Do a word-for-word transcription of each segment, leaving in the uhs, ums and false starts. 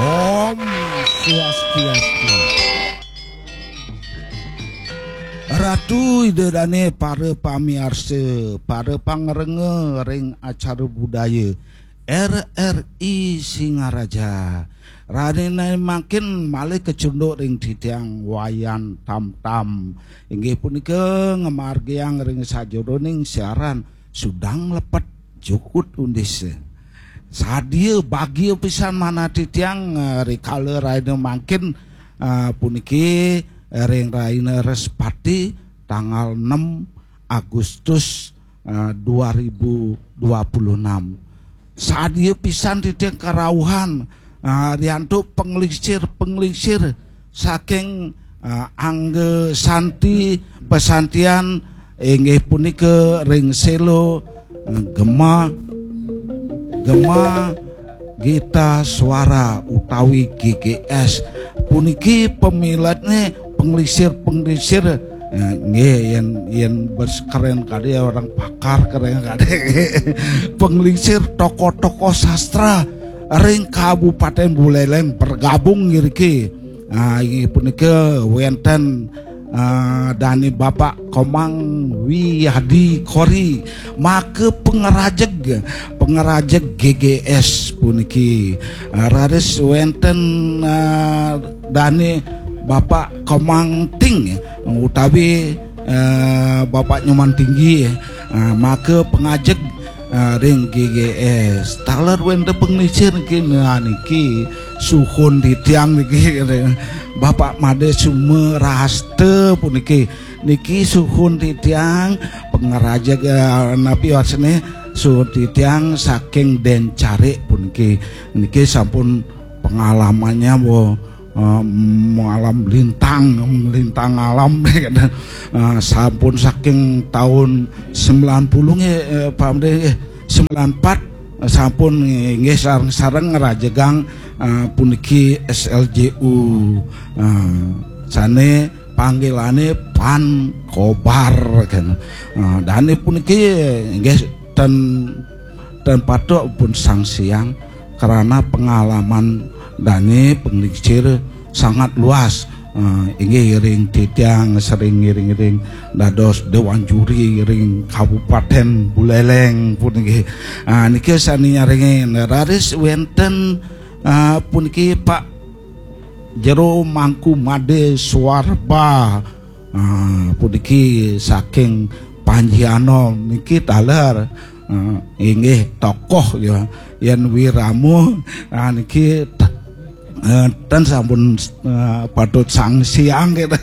Om Swastiastu. Ratu Ida Dane, para pamiarsa, para pangrengga ring acara budaya R R I Singaraja. Rahina mangkin malih kacunduk ring titiang Wayan Tamtam. Inggih punika ngamargiang ring sajeroning siaran Sudang Lepet Jukut Undis. Sadia bagia pisan manah titiang, eh, rikala rahina mangkin, eh, puniki, eh, ring rahina Respati tanggal enam Agustus, eh, dua ribu dua puluh enam. Sadia pisan titiang karauhan, eh, riantuk panglingsir-panglingsir saking, eh, angga santi pasantian, inggih punika ring Selo, eh, Gema, Gema Gita Suara utawi G G S. Puniki pamiletne panglingsir-panglingsir, eh, nggih, yen, yen bes keren kadi orang pakar keren kadi. Panglingsir tokoh-tokoh sastra ring Kabupaten Buleleng bergabung ngriki. Ah, inggih punika wenten, ah, dane Bapak Komang Wiyadi Kori, maka pangrajeg, pangrajeg G G S puniki. Ah, raris wenten, ah, dane Bapak Komang Ting utawi, eh, Bapak Nyoman Tinggi, ah, maka pangajeg, ah, ring G G S. Taler wenten panglingsir niki, nah, niki suhun titiang niki, Bapak Made Sumerasta puniki. Niki suhun titiang pangrajeg, eh, napi wasene, suhun titiang saking Dencarik puniki. Niki sampun pengalamannya, wo, eh, mengalam lintang, melintang alam, eh, sampun saking tahun sembilan puluh nggih, eh, Pak Made, eh, sembilan empat, eh, sampun nggih sareng-sareng ngerajegang, eh, puniki S L J U. Eh, sane panggilane Pan Kobar, kan. Eh, dane puniki nggih ten, ten patut pun sangsiang karena pengalaman dane panglingsir sangat luas. Eh, inggih ring titiang sering ngiring-ngiring dados dewan juri ring Kabupaten Buleleng puniki. Ah, niki sane nyarengin raris wenten, ah, puniki Pak Jero Mangku Made Suarba. Ah, puniki saking Panji Anom niki taler, ah, inggih tokoh ya. Yen Wiramo, ah, niki t-, eh, ten sampun, eh, patut sangsiang gitu.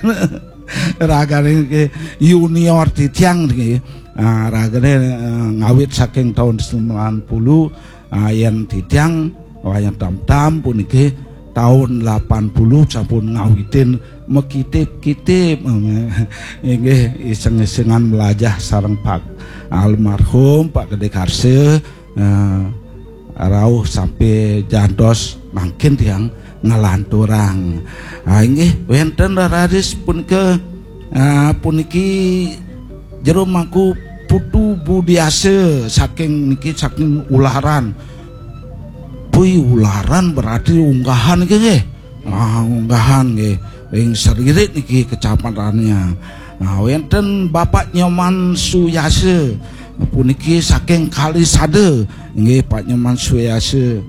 Ragane niki junior titiang niki. Ah, ragane, eh, ngawit saking tahun sembilan puluh, ah, yen titiang Wayan Tamtam puniki tahun delapan puluh sampun ngawitin makitip-kitip. Inggih, iseng-isengan melajah sareng Pak almarhum Pak Gede Karse, eh, rauh sampai jantos mangkin tiang ngelanturang. Ah, inggih, wenten raris punika, ah, puniki Jero Mangku Putu Budiase saking niki, saking Ularan. Pui, Ularan berarti Unggahan nggih, nggih. Ah, Unggahan nggih. Ring Seririt niki kecapatannya. Nah, wenten Bapak Nyoman Suyase puniki saking Kalisada. Nggih, Pak Nyoman Suyase.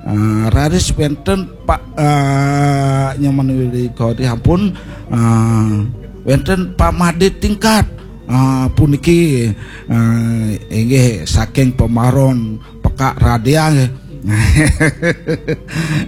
Ah, raris wenten Pak, ah, Nyoman Widikodri ampun, ah, wenten Pak Made Tingkat. Ah, puniki, ah, inggih saking Pemaron Pekak Radia nggih.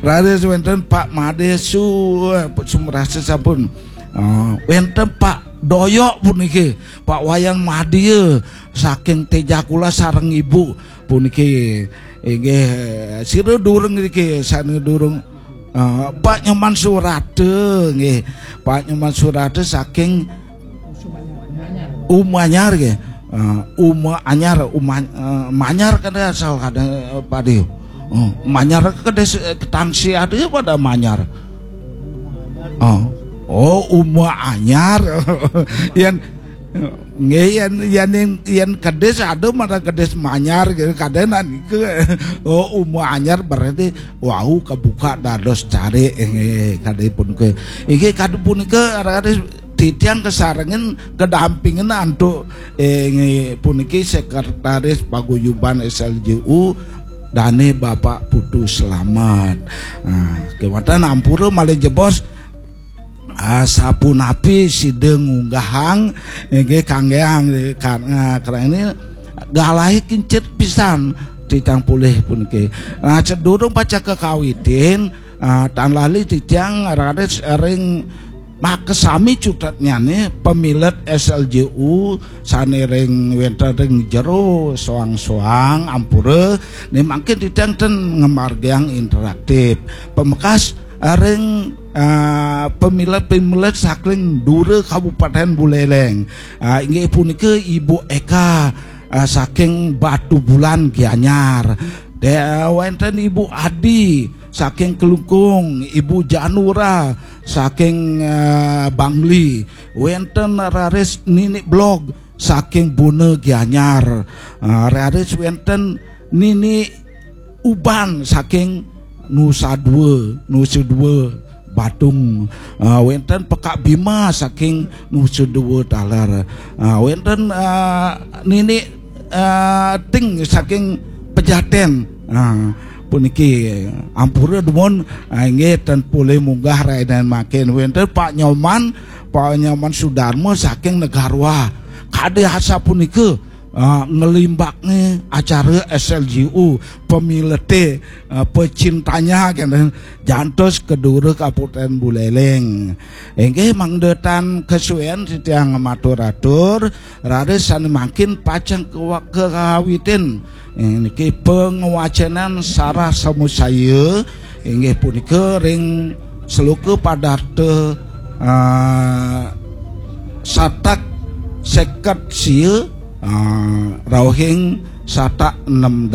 Raris wenten Pak Made Su, Sumerasa sampun. Ah, wenten Pak Doyok puniki, Pak Wayan Madya saking Tejakula sareng Ibu puniki. Inggih, sira durung niki sane durung. Ah, Pak Nyoman Surata nggih. Pak Nyoman Surata saking Umanyar nggih. Eh, Uma Anyar, Uma, eh, Manyar kada asal kada, eh, padi. Oh, Manyar kada se-, ketangsi ada pada Manyar. Oh. Oh, Uma Anyar. Yen Nggih, yen yen yen kedis ada, malah kedis manyar gitu, kadénan iku. Oh, uma anyar berarti wau kebuka dados cari, nggih, kadé punika. Inggih, kadé punika arep titiang kesarengin kedampingin antuk, eh, nggih, puniki sekretaris paguyuban S L J U, dane Bapak Putu Slamet. Nah, kewanten ampura malih jebos, ah, sapunapi sida ngunggahang, inggih, kanggeang, kan, ah, karena ini galahe kincit pisan titiang polih puniki. Nah, sedurung pacaka kawitin, ah, tan lali titiang raris ring makasami cutetnyane pamilet S L J U sane ring wenten ring jero soang-soang ampura, ne mangkin titiang ten ngamargiang interaktif. Pamekas ring, ah, pamilet-pamilet saking dura Kabupaten Buleleng. Ah, inggih punika Ibu Eka, ah, saking Batubulan Gianyar. De, wenten Ibu Adi saking Klungkung, Ibu Janura saking, ah, Bangli. Wenten raris Nini Blog saking Buna Gianyar. Ah, raris wenten Nini Uban saking Nusa Dua, Nusa Dua Badung. Ah, wenten Pekak Bima saking Nusa Dua taler. Ah, wenten, ah, Nini, ah, Ting saking Pejaten. Ah, puniki ampura dumun, ah, inggih ten polih munggah rahinan mangkin. Wenten Pak Nyoman, Pak Nyoman Sudarma saking Negarwa. Kade asapunika, ah, ngelimbakne acara S L J U, pemilete, ah, pecintanya kenten jantos kedura Kabupaten Buleleng. Inggih mangda tan kesuwen titiang matur-atur, raris sane mangkin pacang kewa-, kekawitin. Eh, niki pangwacenan sarah samusaya inggih punika ring sloka padarta, ah, satak seket sia, ah, rauhing satak enam